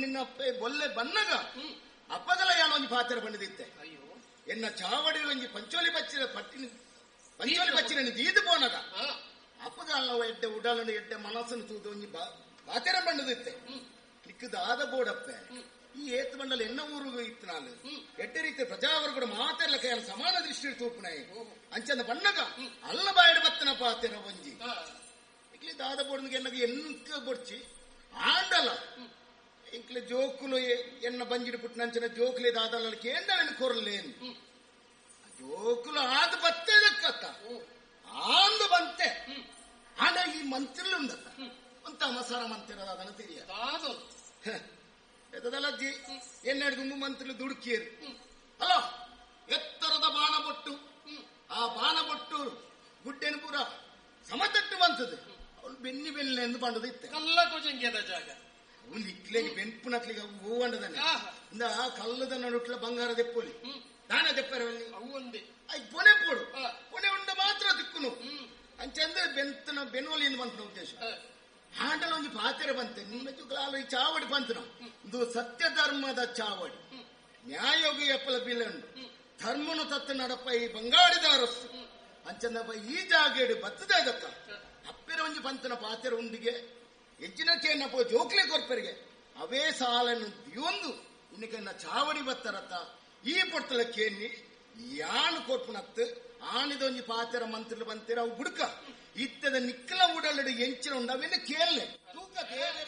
ನಿನ್ನ ಅಪ್ಪೆ ಬೊಲ್ಲೆ ಬನ್ನಗ ಅಪ್ಪಗಲ ಯಾನ ಒಂಜಿ ಪಾತ್ರ ಬಂದಿದ್ದೆ. ಎನ್ನ ಚಾವಡಿ ಒಂಜಿ ಪಂಚೋಲಿ ಬಚ್ಚಿನ ಪಟ್ಟಿನ ಪಂಚೋಲಿ ಬಚ್ಚಿನ ದೀದು ಪೋನಗ ಅಪ್ಪಗ ಅಲ್ಲ ಎಡ್ಡೆ ಉಡಲನ್ನು ಎಡ್ಡೆ ಮನಸ್ಸನ್ನು ತೂದು ಒಂಜಿ ಪಾತ್ರ ಬಂಡದಿತ್ತೆ. ನಿಕ್ಕದಾದ ಬೋಡಪ್ಪೆ ಈ ಏತ್ ಮಂಡಲ ಎನ್ನ ಊರುಗು ಇತ್ತು ನಾನು ಎಡ್ಡೆ ರೀತಿ ಪ್ರಜಾವರ್ಗಡು ಮಾತೆಲ್ಲ ಕೈಯಲ್ಲಿ ಸಮಾನ ದೃಷ್ಟಿ ತೂಪುನಾಯಿ ಅಂಚಂದ ಬಣ್ಣಗ ಅಲ್ಲ ಬಾಯಡು ಬತ್ತನ ಪಾತೆರ ಒಂಜಿ ಇಕ್ಲಿ ದಾದ ಬೋಡ್ನಿಗೆ ಎನ್ನಗ ಎನ್ಕ ಬೊಡ್ಚಿ ಆಂಡಲ ಇಂಕ್ಲೆ ಜೋಕುಲು ಎನ್ನ ಬಂಜಿಡು ಪುಟ್ಟನಂಚಿನ ಜೋಕುಲೆ ದಾದಲ ಕೇಂದ್ರ ಕೊರ್ಲೇನು ಜೋಕುಲು ಆದ ಬತ್ತದಕ್ಕತ್ತ ಆಂದು ಬಂತೆ. ಆಂಡ ಈ ಮಂತ್ರಿಲು ಉಂದತ್ತ ಅಂತ ಮಸಾರ ಮಂತಿರದ ಅದನ್ನು ತಿಳಿಯ ಎತ್ತದಲ್ಲಜ್ಜಿ ಎನ್ನೆರಡು ಮಂತ್ರಿಲು ದುಡುಕಿಯರು ಅಲ್ಲ ಎತ್ತರದ ಬಾಣಬೊಟ್ಟು ಆ ಬಾಣಬೊಟ್ಟು ಗುಡ್ಡೆನು ಪೂರ ಸಮತಟ್ಟು ಬಂತದೆ ಅವಳು ಬೆನ್ನಿ ಬೆನ್ನೆ ಎಂದು ಬಂಡದ ಇತ್ತೆ ಕಲ್ಲ ಕೋಜಂಗ್ಯದ ಜಾಗ ಅವನು ಇಕ್ಲೆಗೆ ಬೆನ್ಪುನಕ್ಲಿಗೆ ಹೂವಂಡದನೆ ಇಂದ ಕಲ್ಲದ ನಡುಟ್ಲ ಬಂಗಾರ ದೆಪ್ಪೊಲಿ ದಾನ ದೆಪ್ಪರವಲ್ಲಿ ಅವು ಒಂದೇ ಪೊನೆ ಪೋಡು ಪೊನೆ ಉಂಡ ಮಾತ್ರ ದಿಕ್ಕುನು ಅಂಚಂದ್ರೆ ಬೆಂತನ ಬೆನ್ನುವಲಿ ಎಂದು ಬಂತನ ಉದ್ದೇಶ. ಆಂಡಲ ಒಂಜಿ ಪಾತ್ರೆ ಬಂತೆ ನಿಮ್ಮ ಜುಗ್ಲಾಲು ಈ ಚಾವಡಿ ಬಂತನ ಇದು ಸತ್ಯ ಧರ್ಮದ ಚಾವಡಿ ನ್ಯಾಯೋಗಿ ಎಪ್ಪಲ ಬಿಲ್ಲುಂಡು ಧರ್ಮನು ತತ್ತ ನಡಪ ಈ ಬಂಗಾಡಿದ ಅರಸು ಅಂಚಂದಪ್ಪ ಈ ಜಾಗೇಡು ಬತ್ತದೇ ದತ್ತ ಅಪ್ಪೆರ ಒಂಜಿ ಬಂತನ ಪಾತ್ರೆ ಉಂಡಿಗೆ ಹೆಚ್ಚಿನ ಚೇನಪ್ಪ ಜೋಕ್ಲೆ ಕೊರ್ಪೆರಿಗೆ ಅವೇ ಸಾಲನ್ನು ದಿಯೊಂದು ಇನ್ನಕನ್ನ ಚಾವಡಿ ಬತ್ತರತ್ತ ಈ ಪೊರ್ತಲ ಕೇನಿ ಯಾನು ಕೊರ್ಪುನತ್ತು ಆನಿದೊಂಜಿ ಪಾತೆರ ಮಂತ್ರಿಲು ಬಂತೀರ ಅವು ಬುಡ್ಕ ಇತ್ತದ ನಿಕ್ಕಲ ಉಡಲಡು ಎಂಚಿನ ಉಂಡು ಅವೆಲ್ಲ ಕೇಳಲೆ ತೂಕ ದೇವರ.